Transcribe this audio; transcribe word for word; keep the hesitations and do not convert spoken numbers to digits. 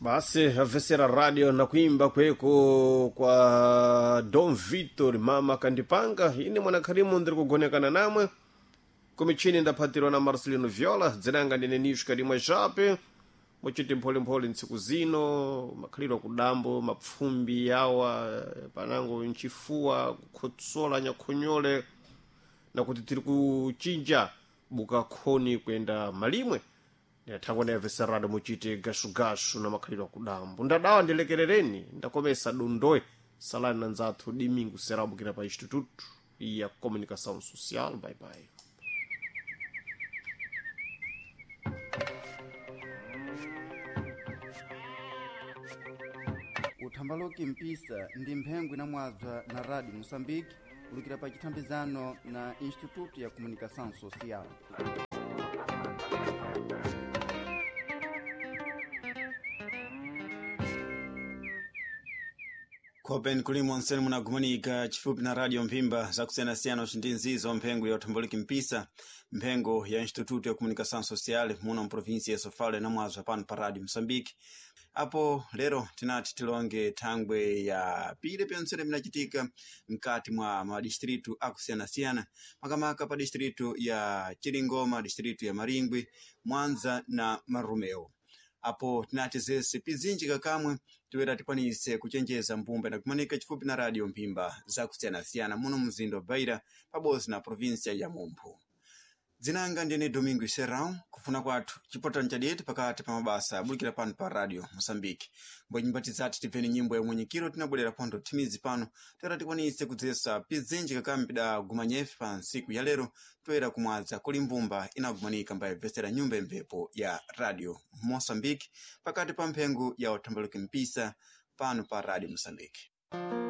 Basi avesera radio na kuimba kweko kwa Dom Vitor mama kandipanga ine mwanakhalimu ndiri kugonekana namwe kumichini ndaphatirwa na Marcelino Viola dzinanga ndine Nishka limwe jape muchiti mpholimpholi ntsiku zino makhalidwe kudambo mapfumbi yawa panango nchifuwa kukhotsola nyakhonyole nakuti tiri kuchinja buka khoni kuyenda malimwe ndinathangwa na veserado muchite gashugashu na makhalidwe akudambo ndadawa ndilekerereni ndakomesa dondoe salani na nzathu dimingu serabukira pa instituto ya comunicação social. Bye bye. Uthambaloki mpisa ndi mphengo inamwabza na Radio Moçambique ulukira pa chithambizano na Instituto ya Comunicação Social. Khopen kulimwa onsene munagumanika chifupi na radio mphimba zakusiyanasiyana ucindi nzizo mphengo ya uthamboliki mpisa mphengo ya Instituto ya Comunicação Social muno mprovinsia ya Sofala inamwazwa pano pa radio Moçambique. Apo lero tinati tilonge thangwe ya pile pyontsene pinacitika mkati mwa madistritu akusiyanasiyana makamaka pa distritu ya Chiringoma, distritu ya Maringwi, Mwanza na Marumeo. Apo tinati zese pizinji kakamwe toera tikwanise kuchenjeza mbumba inakumanika chifupi na radio mphimba zakusiyanasiyana muno mzinda wa Beira pabodzi na provinsia ya Mumphu. Dzinanga ndine Domingo Serrão kufuna kwathu chipotano chadete pakati pa mabasa abulikira pano pa radio Moçambique. Mbwe nyumba tizati tipeni nyimbo ya mwenyekiro tinabwerera pontho thimizi pano toera tikwanise kudzesa pizinji kakambi pida gumanyefe pa ntsiku ya lero toera kumwadza kuli mbumba inagumanika mbayibvesera nyumba imphepo ya radio Moçambique pakati pa mphengo ya uthambaluki mpisa pano pa radio Moçambique.